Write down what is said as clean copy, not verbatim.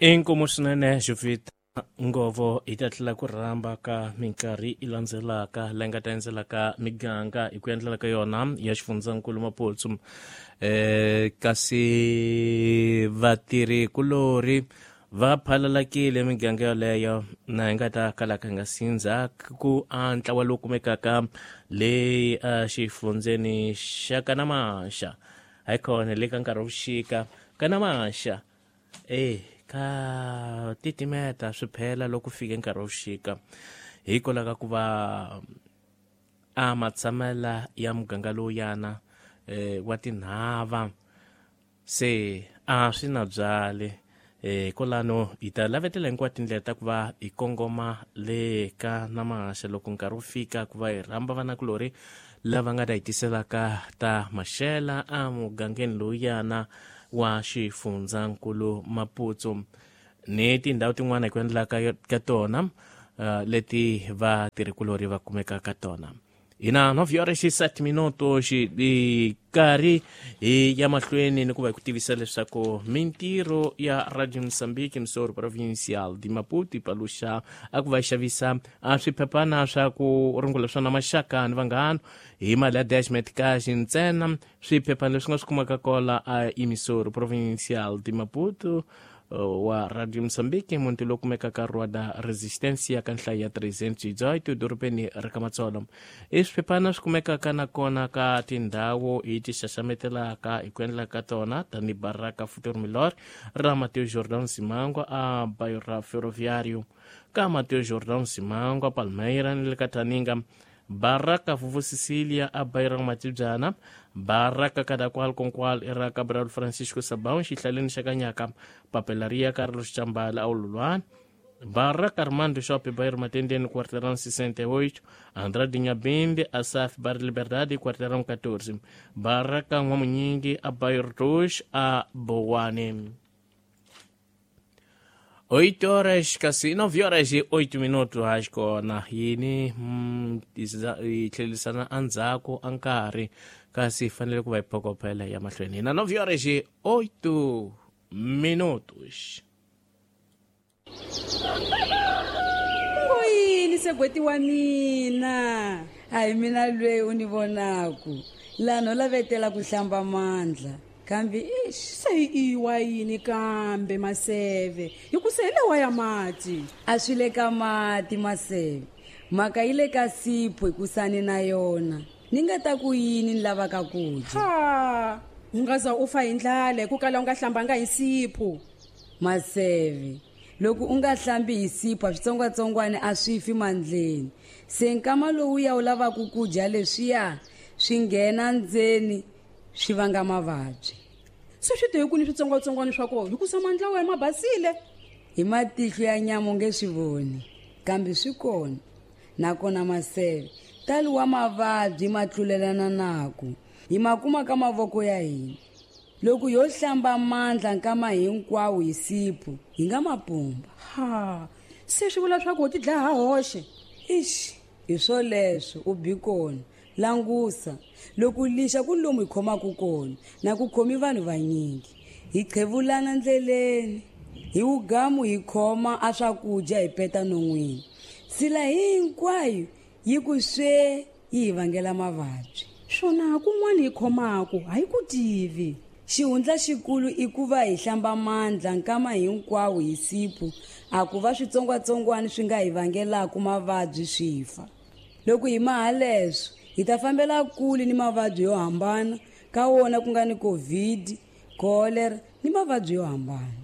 Inkomu swinene Jovita Ngovo hi ta tlhela ku rhamba ka minkarhi yi landzelaka leyi nga ta endzelaka miganga hi ku endlela ka yona ya xifundzankulu Maputsu. Kasi vatirhi kulorhi va phalalakile miganga yoleyo na hi nga ta kalaka hi nga sindza ku a ntlawa lowu kumekaka le exifundzeni xa Kanamaxa hayikhona le ka nkarhi wa vuxika Kanamaxa e ka titimeta swi phela loko fike nkarhi wa vuxika hikwalaho ka ku va a matshamela ya muganga lowuyana wa tinhava se a swi na byali kwalano hi ta lavetela hinkwato tindlela ta ku va hi kongoma le ka Namaxa loko nkarhi wu fika ku va hi rhamba vanakulorhi lava nga ta hi tiselaka ta maxela a mugangeni lowuyana wa xifundzankulu Maputsu ni tindhawu tin'wana hi ku endla ka tona leti vatirhikulorhi va kumekaka ka tona. Hi na 9 horas e 7 minutos hi karhi hi ya mahlweni ni ku va hi ku tivisa leswaku mintirho ya Radio Mozambique Msoro Provincial de Maputo yi paluxa a ku va xavisa a swiphephana swa ku rungula swona maxaka ni vanghana hi mali ya dash cash ntsena. Swiphephana leswi nga swi kumaka kola a Emissoro Provincial de Maputo wa Radio Mozambique muti lowu kumekaka Rua da Resistência ka nhlayo ya 318 dorobeni ra ka Matsolo. I swiphephana swi kumekaka nakona ka tindhawu hi ti xaxametelaka hi ku endla ka tona tanihi Baraka Futuro Melhor ra Mateo Jordan Simangwa a Bairro Ferroviário ka Mateo Jordan Simangwa Palmeira ni le ka Taninga Baraka Vuvu Cecilia a Bairro Matibyana Baraka Kadakwal Konkwal era Cabral Francisco Sabão xihlaleni xa Kanyaka Papelaria Carlos Chambala a Ululwana Baraka Armando Shopping Bairro Matendeni quarteirão 68 Andrade Nhabinde Asaf Bar Liberdade quarteirão 14 Baraka N'wamunyingi a Bairro 2 a Bowane. 8 horas kasi 9 horas e 8 minutos haxikona yini hi tlhelisana endzhaku a nkarhi kasi hi fanele ku va hi phokophela ya mahlweni hina 9 horas e 8 minutos. Yini segweti wa mina? A hi mina lweyi u ni vonaku laha no lavetela ku hlamba mandla kambe ix Se iwa yini kambe Maseve hi ku se hi lewa ya mati? A swi le ka mati Maseve, mhaka yi le ka sipho hikusani na yona ni nga ta ku yini ni lavaka ku dya. Ha, u nga za u fa hi ndlala hi ku kala u nga hlambanga hi sipho. Maseve, loko u nga hlambi hi sipho a switsongwatsongwana a swi fi mandleni, se nkama lowuya u lavaka ku dya leswiya swi nghena ndzeni swi vanga mavabyi. Se swi te hi kwini switsongwatsongwana swa kona hikusa mandla wa ma basile? Hi matihlo ya nyama u nge swi voni, kambe swi kona. Nakona Maseve, talo wa mavabyi ma tlulelana naku hi ma kuma ka mavoko ya hina. Loko yo hlamba mandla nkama hinkwawo hi sipho hi nga ma pumba. Ha, se swi vula swa ku ho ti dlaya ha hoxe? Ix, hi swoleswo u bi kona. Langusa loko lixa ku lomu hi khomaka kona na ku khomi vanhu vanyingi hi qhevulana ndleleni hi wugamu hi khoma a swakudya hi peta non'wini sila hinkwayo yi ku swe yi hi vangela mavabyi. Swona kun'wana hi khomaka a hi ku tivi. Xihundla xikulu i ku va hi hlamba mandla nkama hinkwawo hi sipho a ku va switsongwatsongwana swi nga hi vangelaka mavabyi swi fa. Loko hi maha leswo hi ta fambela kule ni mavabyi yo hambana ka wona ku nga ni COVID, cholera ni mavabyi yo hambana.